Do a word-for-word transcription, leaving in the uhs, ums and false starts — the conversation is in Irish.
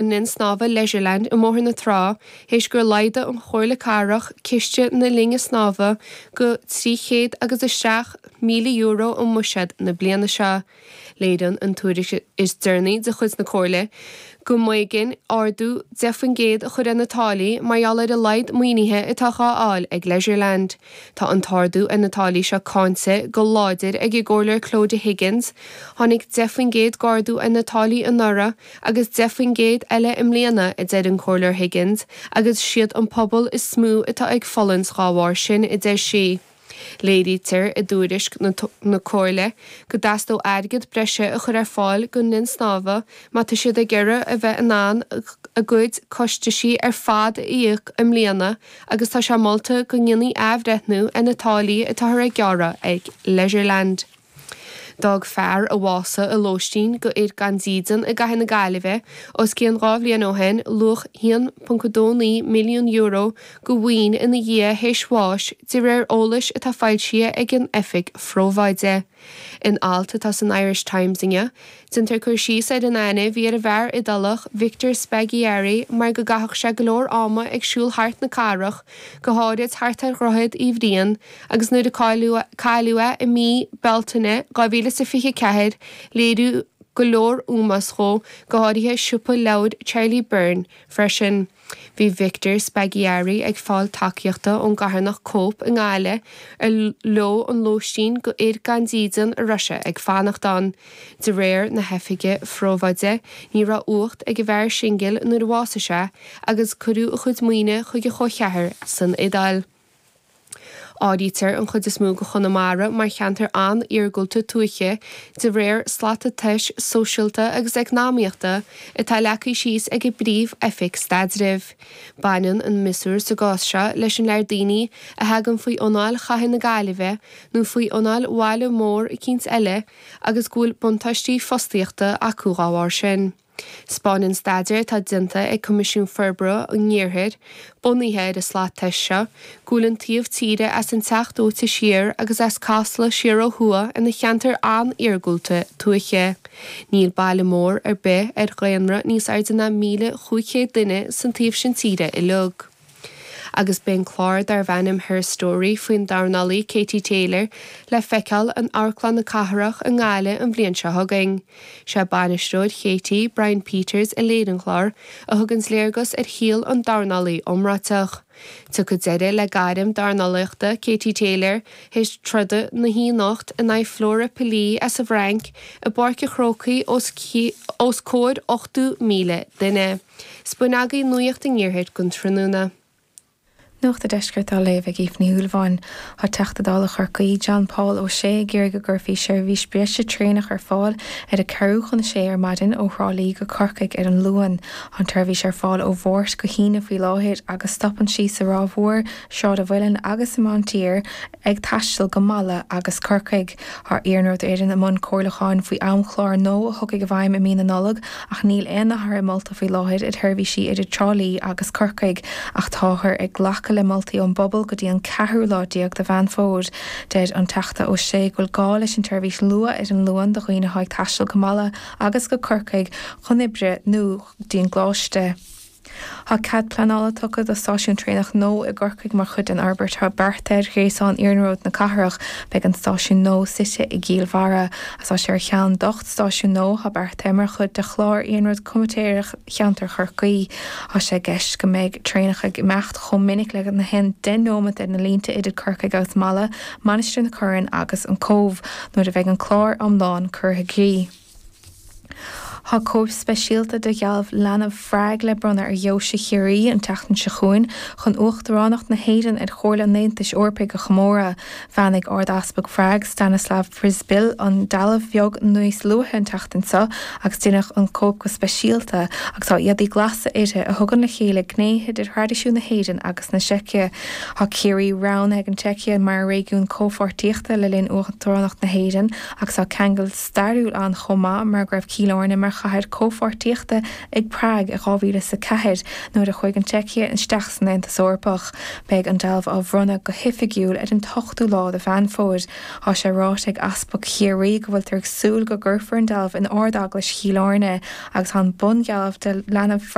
linn snámha Leisureland i mBóthar na Trá théis gur laghdaigh an Chomhairle Cathrach ciste na linne snámha go trí chéad agus a seacht míle euro i mbuiséad na bliana seo. Léiríonn an tuairisc is deireanaí de chuid na Comhairle go mb'éigean ardú deich faoin gcéad a chur ar na táillí mar gheall ar a laghad maoinithe atá á fháil ag Leisureland. Tá an t-ardú ar na táillí seo cáinte go láidir ag an gComhairleoir Clodagh Higgins. Tháinig deich faoin gcéad d'ardú ar na táillí anuraidh agus deich faoin gcéad eile i mbliana, a deir an Comhairleoir Higgins, agus siad an pobal is mó atá ag fulaingt dá bharr sin, a deir sí. Léirítear i dtuairisc na Comhairle go dteastódh airgead breise a chur ar fáil don linn snámha má tá siad ag iarraidh a bheith in ann a gcuid costaisí ar fad a íoc i mbliana agus tá sé molta go ndéanfaí athbhreithniú ar na táillí atáthar ag gearradh ag Leisureland. D'fhág fear a bhásaigh i lóistín do fhir gan dídean i gcathair na Gaillimhe os cionn dhá bhliain ó shin luach a haon ponc a dó naoi milliún euro de mhaoin ina dhiaidh théis bháis, de réir eolais atá foilsithe ag an Oifig Phrobháide. In alt atá san Irish Times inniu, déantar cur síos ar an aithne a bhí ar an bhfear Iodálach Victor Spaggiari mar go gcaitheadh sé go leor ama ag siúl thart na cathrach, go háirid thart ar Dhroichead Uí Bhriain, agus nuair a cailleadh é i mí Bealtaine dhá mhíle is a fiche a ceathair, léiríodh go leor ómós dhó, go háirithe siopa leabhar Charlie Byrne freisin. Bhí Victor Spaggiari ag fáil tacaíochta ón gcarthanacht Cope i nGaillimh, ar leo an lóistín do fhir gan dídean a raibh sé ag fanacht ann. De réir na hOifige Phrobháide, ní raibh uacht ag an bhfear singil nuair a bhásaigh sé agus cuireadh a chuid maoine chuig a chomhcheathar san Iodáil. Áirítear an chuid is mó de Chonamara mar cheantar an-iargúlta tuaithe de réir slata tomhais sóisialta agus eacnamaíochta atá leagtha síos ag an bPríomh-Oifig Staidrimh. Baineann an miosúr sa gcás seo leis an lear daoine a thagann faoi anáil chathair na Gaillimhe nó faoi anáil bhaile mór eicínt eile agus go bhfuil buntáistí fostaíochta acu dá bharr sin. 'Spáineann staidéar atá déanta ag Coimisiún Forbartha an Iarthair, bunaithe ar an slat tomhais seo, go bhfuil an taobh tíre as an Teach Dóite siar agus as Casla siar ó thuaidh ina cheantar an-iargúlta tuaithe. Níl baile mór ar bith ar dhaonra níos airde ná míle chúig chéad duine san taobh sin tíre uilig. Agus beidh an clár darbh ainm Her Story faoin dornálaí Katie Taylor le feiceáil in Amharclann na Cathrach i nGaillimh an bhliain seo chugainn. Sé bainisteoir Katie, Brian Peters, a léirigh an clár, a thuganns léargas ar shaol an dornálaí iomráiteach. Tiocfaidh deireadh le gairm dornálaíochta Katie Taylor théis troda na hoíche anocht in aghaidh Flora Pili as an bhFrainc i bPáirc an Chrócaigh os comhair ochtó míle duine. 'S b'in agaibh Nuacht an Iarthair don tráthnóna. Nuacht an Deiscirt á léamh ag Aoife Ní Shúilleabháin. Tá Teachta Dála Chorcaí, John Paul Ó Sé ag iarraidh go gcuirfí seirbhís breise traenach ar fáil ar a ceathrú chun a sé ar maidin ó Thrá Lí go Corcaigh ar an Luan. Tá an tseirbhís ar fáil ó Mháirt go hAoine faoi láthair agus stopann sí sa Ráth Mhór, Sráid an Mhuilinn agus i Maintír ag taisteal go Mala agus Corcaigh. Tá Iarnród Éireann i mbun comhairliúcháin faoi amchlár nua a thiocfaidh i bhfeidhm i mí na Nollag ach níl aon athruithe molta faoi láthair ar sheirbhísí idir Trá Lí agus Corcaigh ach táthar ag glacadh le moltaí ón bpobal go dtí an ceathrú lá déag de Mheán Fómhair. Deir an Teachta Ó Sé go bhfuil gá leis an tseirbhís luath ar an Luan do dhaoine atá ag taisteal go Mala agus go Corcaigh chun oibre nó go dtí an gcoláiste. Tá cead pleanála tugtha do stáisiún traenach nua i gCorcaigh mar chuid den fhorbairt atá beartaithe ar ghréasán iarnróid na cathrach. Beidh an stáisiún nua suite i gCill Bharra agus tá sé ar cheann d'ocht stáisiún nua atá beartaithe mar chuid de chlár iarnróid comaitéireach cheantar Chorcaí. Tá sé i gceist go mbeidh traenacha ag imeacht chomh minic le gach aon deich nóiméad ar na línte idir Corcaigh agus Mala, Mainistir na Corann agus an Cóbh nuair a bheidh an clár iomlán curtha i gcrích. Tá cóip speisialta de dhealbh Leanbh Phrág le bronnadh ar Dheoise Chiarraí an tseachtain seo chugainn chun Uachtaránacht na hÉireann ar Chomhairle an Aontais Eorpaigh a chomóradh. Bheannaigh Ard-Easpag Phrág, Stanislav Przybyl, an dealbh bheag níos luaithe an tseachtain seo agus deineadh an cóip go speisialta agus tá éadaí glasa uirthi a thugann le chéile gnéithe de thraidisiún na hÉireann agus na Seice. Tá Ciarraí roghnaithe ag an tSeicia mar réigiún comhpháirtíochta le linn Uachtaránacht na hÉireann agus tá ceangal stairiúil ann chomh maith mar go raibh Cill Airne mar mar chathair comhpháirtíochta ag Prág i dhá mhíle is a ceathair nuair a chuaigh an tSeicia isteach san Aontas Eorpach. Beidh an dealbh á bhronnadh go hoifigiúil ar an t-ochtú lá de Mheán Fómhair. Tá sé ráite ag Easpag Chiarraí go bhfuiltear ag súil go gcuirfear an dealbh in Ard-Eaglais Chill Airne agus tá an bundhealbh de leanbh